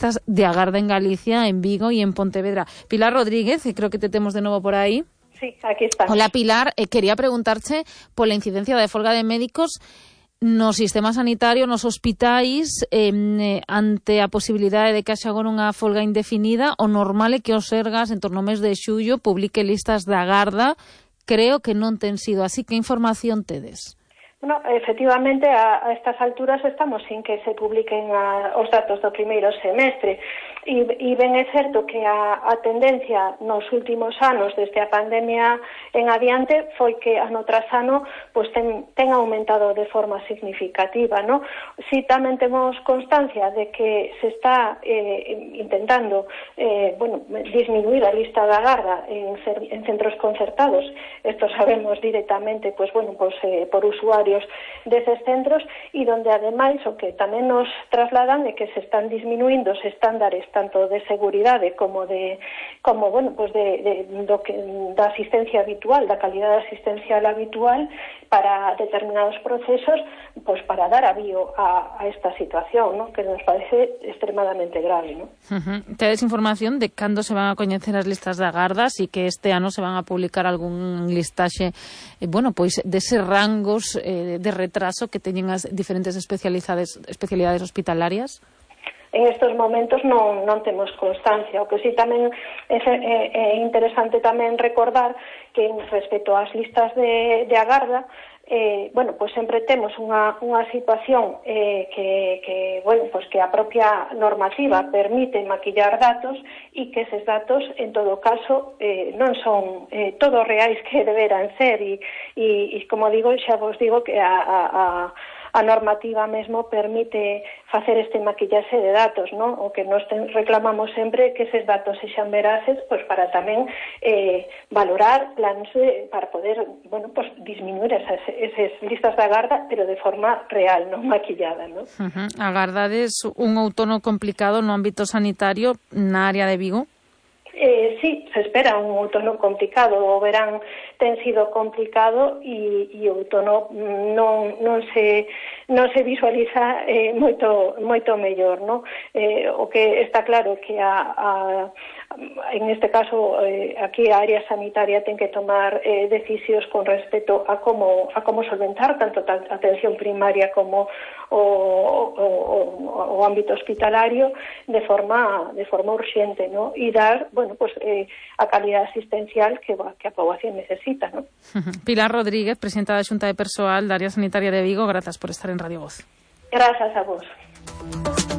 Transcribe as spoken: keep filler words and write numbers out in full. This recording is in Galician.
listas de agarda en Galicia, en Vigo y en Pontevedra. Pilar Rodríguez, creo que te temos de novo por aí. Sí, aquí está. Hola, Pilar. Eh, quería preguntarche pola incidencia de folga de médicos no sistema sanitario, nos hospitais, eh, ante a posibilidade de que haxa agora unha folga indefinida, o normal é que os Sergas, en torno ao mes de xullo, publique listas de agarda. Creo que non ten sido así. Que información tedes? Bueno, efectivamente, a, a estas alturas estamos sin que se publiquen a, os datos do primeiro semestre. E, e ben é certo que a, a tendencia nos últimos anos, desde a pandemia en adiante, foi que ano tras ano pues, ten, ten aumentado de forma significativa, ¿no? Si tamén temos constancia de que se está eh, intentando eh, bueno, disminuir a lista de agarda en, en centros concertados. Esto sabemos directamente pues, bueno, pues, eh, por usuarios deses centros, e donde ademais o que tamén nos trasladan é que se están disminuindo os estándares tanto de seguridade como de como bueno, pues de, de do que da asistencia habitual, da calidade asistencial habitual para determinados procesos, pues para dar avío a, a esta situación, ¿no? Que nos parece extremadamente grave, ¿no? Uh-huh. Tedes información de cando se van a coñecer as listas de agardas e que este ano se van a publicar algún listaxe, eh, bueno, pois deses rangos eh, de retraso que teñen as diferentes especialidades especialidades hospitalarias? En estes momentos non, non temos constancia. O que sí tamén é, é, é interesante tamén recordar que respecto ás listas de, de agarda, eh, bueno, pues sempre temos unha, unha situación eh, que, que, bueno, pues que a propia normativa permite maquillar datos e que eses datos, en todo caso, eh, non son eh, todos reais que deberan ser e, e, e como digo, xa vos digo que a, a, a a normativa mesmo permite facer este maquillaxe de datos, ¿no? O que nos ten, reclamamos sempre que eses datos sexan veraces, pues para tamén eh, valorar plans de, para poder, bueno, pues disminuir esas, esas listas de agarda, pero de forma real, non maquillada, ¿no? Uh-huh. Agardades un outono complicado no ámbito sanitario na área de Vigo? Eh, sí, se espera un outono complicado. O verán ten sido complicado e, e o outono non, non se non se visualiza eh, moito moito mellor, ¿no? Eh, o que está claro que a, a en este caso eh, aquí a área sanitaria ten que tomar eh, decisións con respecto a como a como solventar tanto a atención primaria como o, o, o, o ámbito hospitalario de forma de forma urxente, ¿no? E dar, bueno, pues eh, a calidad asistencial que, que a poboación necesita, ¿no? Pilar Rodríguez, presidenta da Xunta de Persoal da área sanitaria de Vigo, grazas por estar en Radio Voz. Grazas a vos.